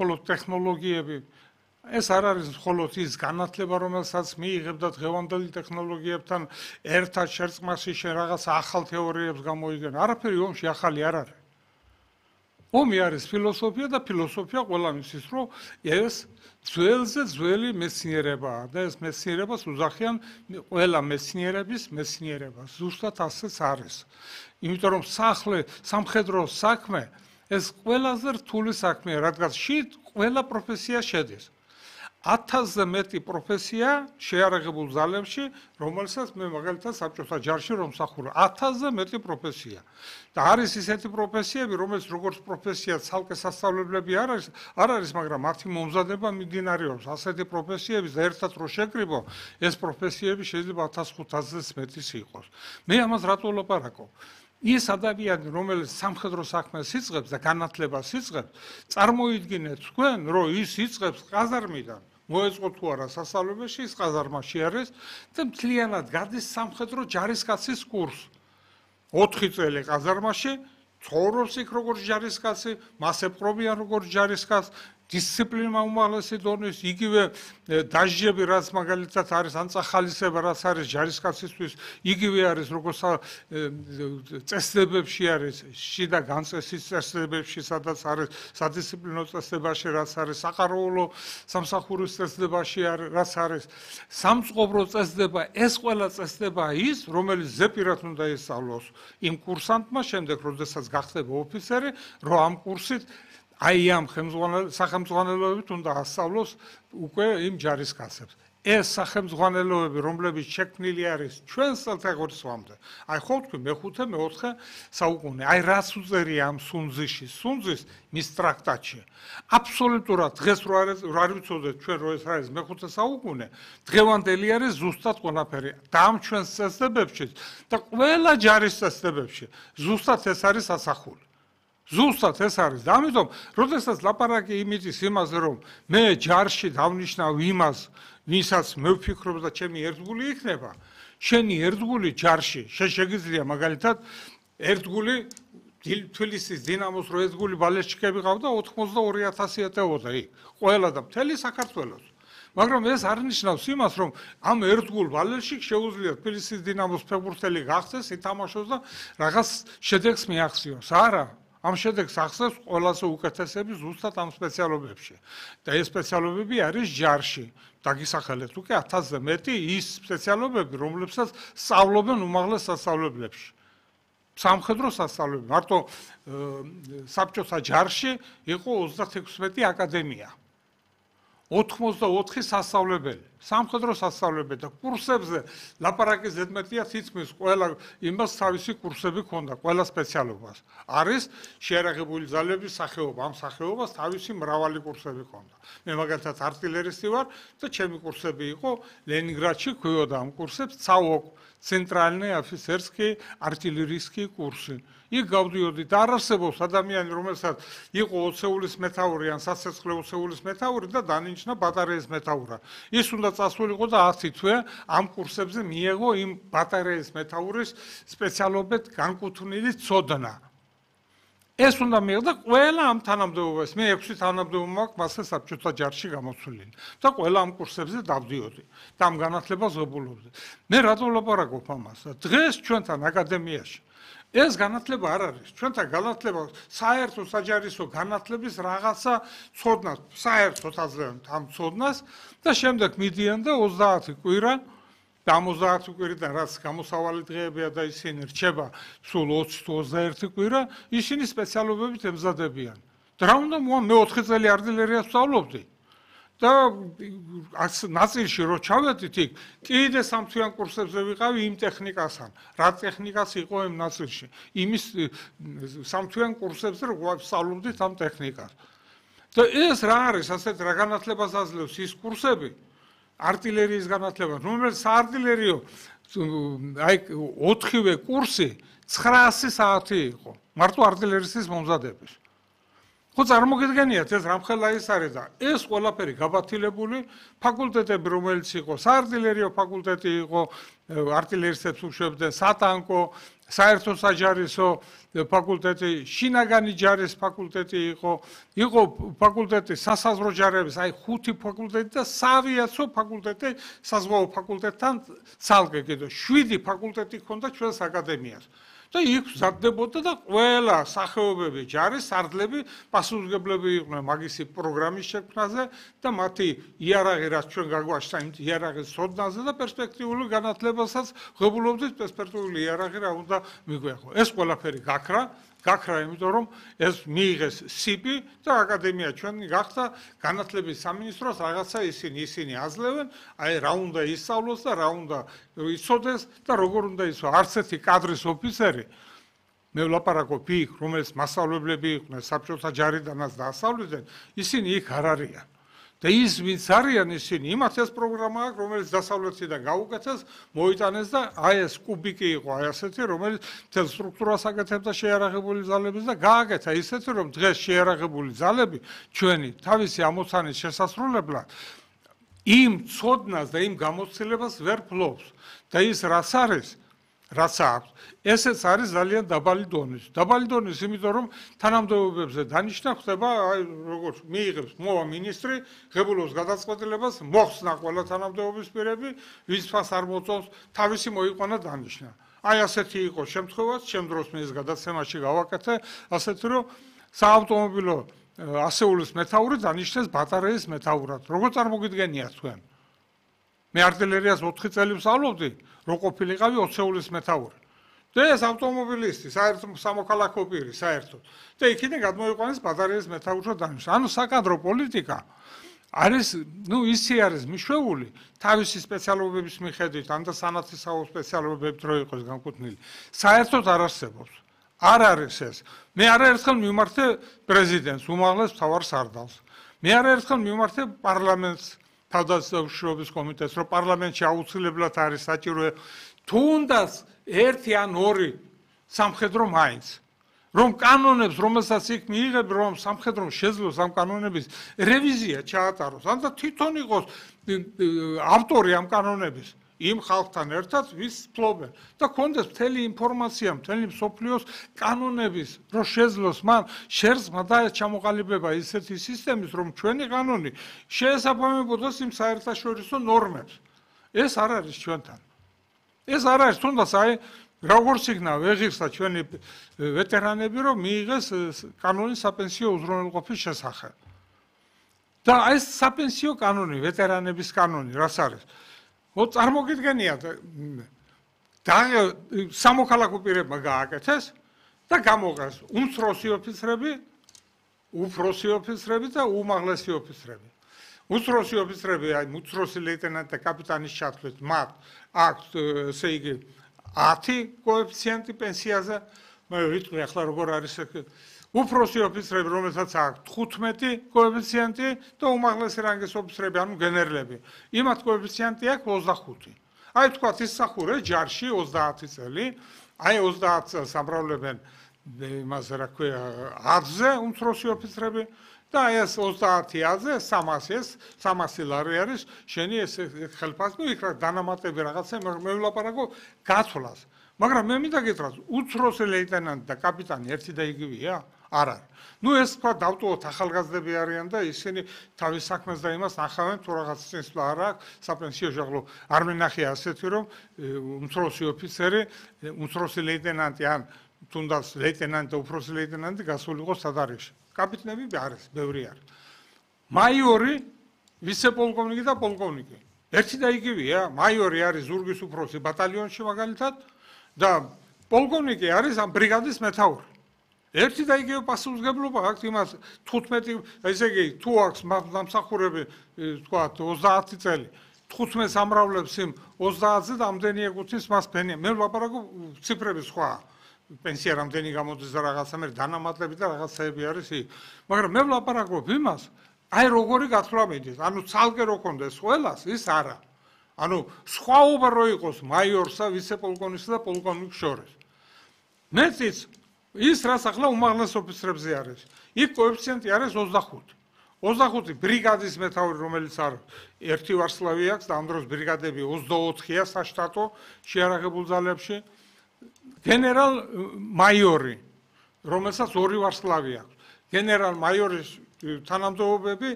მხოლოდ ტექნოლოგიები. ეს არ არის მხოლოდ ის განათლება, რომელსაც მიიღებ და დღევანდელი ტექნოლოგიებთან ერთად შერწყმაში შენ რაღაც ახალ თეორიებს გამოიგენ. არაფერი ომში ახალი არ არის. ომი არის ფილოსოფია და ფილოსოფია ყველამ იცის, რომ ეს ძველზე ძველი მეცნიერებაა და ეს მეცნიერებას უძახიან ყველა მეცნიერების მეცნიერებას. ზუსტად ასეც არის. იმიტომ რომ სამხედრო საქმე ეს ყველაზე რთული საქმეა, რადგან შით ყველა პროფესია შედის. 1000-ზე მეტი პროფესია შეარაღებულ ძალებში, რომელსაც მე მაგალითად საბჭოთა ჯარში რომ მსახურობ, 1000-ზე მეტი პროფესია. და არის ისეთი პროფესიები, რომელიც როგორც პროფესია ცალკე სასწავლებლები არ არის, მაგრამ მათი მომზადება მიმდინარეობს. ასეთი პროფესიების და ერთად რო შეკრიბო, ეს პროფესიები შეიძლება 1500-ზე მეტის იყოს. მე ამას რატო ვლაპარაკობ? ის ადამიანი, რომელიც სამხედრო საქმეს იწყებს და განათლებას იწყებს, წარმოიდგინეთ თქვენ, რომ ის იწყებს ყაზარმიდან. მოეწყო თუ არა სასწავლებელში, ის ყაზარმაში არის და მთლიანად გადის სამხედრო ჯარისკაცის კურსს. 4 წელი ყაზარმაში, ცხოვრობს იქ როგორც ჯარისკაცი, მას ეპყრობიან როგორც ჯარისკაცს, დისციპლინა უმაღლესი დონის, იგივე დაჟიები, რაც მაგალითად არის, ან წახალისება, რაც არის ჯარისკაცისთვის, იგივე არის როგორც წესდებებში არის, შიდა განწესის წესდებებში, სადაც არის სადისციპლინო წესდებაში, რაც არის საყარაულო სამსახურის წესდებაში, რაც არის სამწყობრო წესდება, ეს ყველა წესდება ის, რომელიც ზეპირად უნდა ისწავლოს იმ კურსანტმა, შემდეგ როდესაც გახდება ოფიცერი, რომ ამ კურსით აი ამ სახელმძღვანელოებით უნდა ასწავლოს უკვე იმ ჯარისკაცებს. ეს სახელმძღვანელოები, რომლებიც შექმნილი არის ჩვენს წელთაღრიცხვამდე, აი ხო თქვი მე-5, მე-4 საუკუნე, აი რაც უწერია ამ სუნძიში, სუნძის მის ტრაქტატში. აბსოლუტურად დღეს რო არ ვიცოდეთ ჩვენ რო ეს არის მე-5 საუკუნე, დღევანდელი არის ზუსტად ყველაფერი. და ამ ჩვენს წესდებებში და ყველა ჯარის წესდებებში ზუსტად ეს არის ასახული. ზუსტად ეს არის და ამიტომ, როდესაც ლაპარაკი იმითის იმაზე, რომ მე ჯარში დავნიშნავ იმას, ვისაც მე ვფიქრობ და ჩემი ერთგული იქნება, შენი ერთგული ჯარში, შეგიძლია მაგალითად ერთგული თბილისის დინამოს რო ერთგული ბალეშჩიკები ყავდა 82000 ეტეოდა იქ, ყველა და მთელი საქართველოს. მაგრამ ეს არ ნიშნავს იმას, რომ ამ ერთგულ ბალეშჩიკს შეუძლია თბილისის დინამოს ფეხბურთელი გახდეს, ითამაშოს და რაღაც შედეგს მიაღწიოს. არა. ამ შედეგს ახსენებს ყველაზე უკეთესები ზუსტად ამ სპეციალობებში. და ეს სპეციალობები არის ჯარში. დაგისახელეთ უკვე 1000-ზე მეტი ის სპეციალობები, რომლებსაც სწავლობენ უმაღლეს სასწავლებლებში. სამხედრო სასწავლებლები. მარტო საბჭოთა ჯარში იყო 36 აკადემია. 84 სასწავლებელი, სამხედრო სასწავლებელი და კურსებზე ლაპარაკის ზედმეტია თითქმის ყველა იმას თავისი კურსები ჰქონდა, ყველა სპეციალობას. არის შეიარაღებული ძალების სახეობა, ამ სახეობას თავისი მრავალი კურსები ჰქონდა. მე მაგალითად артиллеристი ვარ და ჩემი კურსები იყო ლენინგრადში ქვიოდა ამ კურსებს ЦАОК, ცენტრალნი ოფიცერსკი артиллерийский კურსი. იქ გავდიოდი და არ არსებობს ადამიანი, რომელსაც იყო ოცეულის მეთაური ან სასეცხრე ოცეულის მეთაური და დანიშნა ბატარეის მეთაურად. ის უნდა წასულიყო და 10 თვე ამ კურსებზე მიეღო იმ ბატარეის მეთაურის სპეციალობით განკუთვნილი ცოდნა. ეს უნდა მიეღო და ყველა ამ თანამდებობას, მე 6 თანამდებობა მაქვს მასე საბჭოთა ჯარში გამოცვლილი და ყველა ამ კურსებზე დავდიოდი და ამ განათლებას ვებულობდი. მე რატო ვლაპარაკობ ამას? დღეს ჩვენთან აკადემიაში ეს განათლება არ არის. ჩვენთან განათლება საერთო საჯარისო განათლების რაღაცა ცოდნას, საერთოდ აზრენ ამ ცოდნას და შემდეგ მიდიან და 30 კვირა და 30 კვირიდან რაც გამოსავალი დღეებია და ისინი რჩება სულ 20-21 კვირა, ისინი სპეციალობებით ემზადებიან. და რა უნდა მე 4 წელი артиллериას ვსწავლობდი. და ნაწილში რო ჩავედით იქ, კიდე სამთვიან კურსებზე ვიყავი იმ ტექნიკასთან. რა ტექნიკაც იყო იმ ნაწილში? იმის სამთვიან კურსებზე რო ვსწავლობდით ამ ტექნიკას. და ეს რა არის, ასეთ რა განათლებას აძლევს ის კურსები? артиллерიის განათლება, რომელიც საარტილერიო აი 4-ვე კურსი 900 საათი იყო. მარტო артиллеристის მომზადების. ხო წარმოგიდგენიათ ეს რამხელა ის არის და ეს ყველაფერი გაბათილებული ფაკულტეტები, რომელიც იყო საარტილერიო ფაკულტეტი იყო, артиллеრისტებს უშვებდნენ, სატანკო, საერთო საჯარისო ფაკულტეტი, შინაგანი ჯარის ფაკულტეტი იყო ფაკულტეტი სასაზღვრო ჯარების, აი 5 ფაკულტეტი და საავიაციო ფაკულტეტი საზღვაო ფაკულტეტთან ცალკე კიდე 7 ფაკულტეტი ჰქონდა ჩვენს აკადემიას. და იქ მზადდებოდა და ყველა სახეობები ჯარის სარდლები პასუხისმგებლები იყვნენ მაგისი პროგრამის შექმნაზე და მათი იარაღი რაც ჩვენ გაგვაშთა იმ იარაღის ცოდნაზე და პერსპექტიული განათლებასაც ღებულობდით პერსპექტიული იარაღი რა უნდა მიგვეღო. ეს ყველაფერი გაქრა, იმიტომ რომ ეს მიიღეს სიპი და აკადემია ჩვენი გახდა განათლების სამინისტროს რაღაცა ისინი აძლევენ, აი რა უნდა ისწავლოს და რა უნდა იცოდეს და როგორ უნდა იცო. არც ერთი კადრის ოფიცერი მე ვლაპარაკობ იქ, რომელიც მასწავლებლები იყვნენ საბჭოთა ჯარიდანაც დაასწავლიდნენ, ისინი იქ არ არიან. და ის ვინც არიან ისინი, იმათ ეს პროგრამა აქვს, რომელიც დასავლეთიდან გაუკეთეს, მოიტანეს და აი ეს კუბიკი იყო, აი ასეთი, რომელიც მთელ სტრუქტურას აკეთებდა შეიარაღებული ძალების და გააკეთა ისეთი, რომ დღეს შეიარაღებული ძალები ჩვენი თავისი ამოცანის შესასრულებლად იმ ცოდნას და იმ გამოცდილებას ვერ ფლობს და ის რაც აქვს, ესეც არის ძალიან დაბალი დონის. დაბალი დონის, იმიტომ რომ თანამდებობებზე დანიშნა ხდება, აი როგორც მიიღებს მოვა მინისტრი, ღებულობს გადაწყვეტილებას, მოხსნა ყველა თანამდებობის პირები, ვისფას არ მოწონს, თავისი მოიყვანა დანიშნა. აი ასეთი იყო შემთხვევაც, ჩემ დროს მე ეს გადაცემაში გავაკეთე, ასეთი რომ საავტომობილო ასეულის მეთაური დანიშნეს ბატარეის მეთაურად. როგორ წარმოგიდგენიათ თქვენ? მე არტილერიას 4 წელი ვსწავლობდი, რო ყოფილიყავი ოცეულის მეთაური. და ეს ავტომობილისტი, საერთო სამოქალაქო პირი, საერთოდ. და იქიდან გადმოიყვანეს ბატარეის მეთაურად დანიშნა. ანუ საკადრო პოლიტიკა არის, ისე არის მიშვეული თავისი სპეციალობების მიხედვით, ან და სანათლისაო სპეციალობებით რო იყოს განკუთვნილი. საერთოდ არ არსებობს. არ არის ეს. მე არაერთხელ მივმართე პრეზიდენტს, უმაღლეს მთავარ სარდალს. მე არაერთხელ მივმართე პარლამენტს, თავდაცვის კომიტეტს, რომ პარლამენტში აუცილებლად არის საჭირო თუნდაც 1 ან 2 სამხედრო მაინც. რომ კანონებს, რომელსაც იქ მიიღებ, რომ სამხედრომ შეძლოს ამ კანონების რევიზია ჩაატაროს, ან და თვითონ იყოს ავტორი ამ კანონების, იმ ხალხთან ერთად ვის ფლობენ და კონდეს მთელი ინფორმაცია, მთელი მსოფლიოს კანონების, რომ შეძლოს მან შერწყმა და ჩამოყალიბება ისეთი სისტემის, რომ ჩვენი კანონი შეესაბამებოდეს იმ საერთაშორისო ნორმებს. ეს არ არის ჩვენთან. ეს არ არის, თუნდაც აი როგორც იქნა ვეღირსა ჩვენი ვეტერანები, რომ მიიღეს კანონი საპენსიო უზრუნველყოფის შესახებ. და ეს საპენსიო კანონი, ვეტერანების კანონი, რაც არის? წარმოგიდგენიათ, სამოქალაქო პირებმა გააკეთეს და გამოყეს უმცროსი ოფიცრები და უმაღლესი ოფიცრები. უმცროსი ოფიცრები, აი უმცროსი ლეიტენანტი და კაპიტანის ჩათვლით, მათ აქვს, ესე იგი, 10 კოეფიციენტი პენსიაზე, მე ვიტყვი ახლა როგორ არის უფროსი ოფიცრები, რომელსაც აქვს 15 კოეფიციენტი და უმაღლესი რანგის ოფიცრები, ანუ გენერლები. იმათ კოეფიციენტი აქვს 25. აი თქვათ ისახურე ჯარში 30 წელი, აი 30 წელს ამრავლებენ იმაზე რა ქვია, 10-ზე უმცროსი ოფიცრები და აი ეს 30 10-ზე 300 ლარი არის შენი ეს ხელფასი, იქ რა დანამატები რაღაცა, მე ვლაპარაკო გაცვლას. მაგრამ მე მინდა გითხრათ, უცროსი ლეიტენანტი და კაპიტანი ერთი და იგივეა? არ არის. ეს თქვა დავტოვოთ ახალგაზრდები არიან და ისინი თავის საქმეს და იმას ნახავენ, თუ რაღაც წინსვლა არ აქვს, საპენსიო ჟაღლო არ მენახია ასეთი, რომ უმცროსი ოფიცერი, უმცროსი ლეიტენანტი ან თუნდაც ლეიტენანტი და უფროსი ლეიტენანტი გასულიყო სადარიგში. კაპიტნები არის, ბევრი არის. მაიორი, ვიცე-პოლკოვნიკი და პოლკოვნიკი. ერთი და იგივეა, მაიორი არის ზურგის უფროსი ბატალიონში მაგალითად და პოლკოვნიკი არის ამ ბრიგადის მეთაური. ერთი და იგივე პასუხისმგებლობა აქვს იმას 15, ესე იგი, თუ აქვს დამსახურები, თქვათ 30 წელი, 15 ამრავლებს იმ 30-ზე და ამდენი ეკუთვნის მას პენსია. მე ვლაპარაკობ ციფრების სხვა. პენსია რამდენი გამოდის და რაღაცა მე დანამატები და რაღაცაები არის იქ. მაგრამ მე ვლაპარაკობ იმას, აი როგორი გათვლა მიდით. ანუ ცალკე რო კონდეს ყველას, ის არა. ანუ სხვაობა რო იყოს მაიორსა, ვიცე-პოლკოვნიკსა და პოლკოვნიკს შორის. მეც ის რაც ახლა უმაღლეს ოფიცრებზე არის. იქ კოეფიციენტი არის 25. 25 ბრიგადის მეთაური, რომელიც არის ერთი ვარსლავი აქვს და ამ დროს ბრიგადები 24-ია საშტატო შეიარაღებულ ძალებში. გენერალ მაიორი, რომელსაც 2 ვარსკვლავი აქვს. გენერალ მაიორის თანამდებობები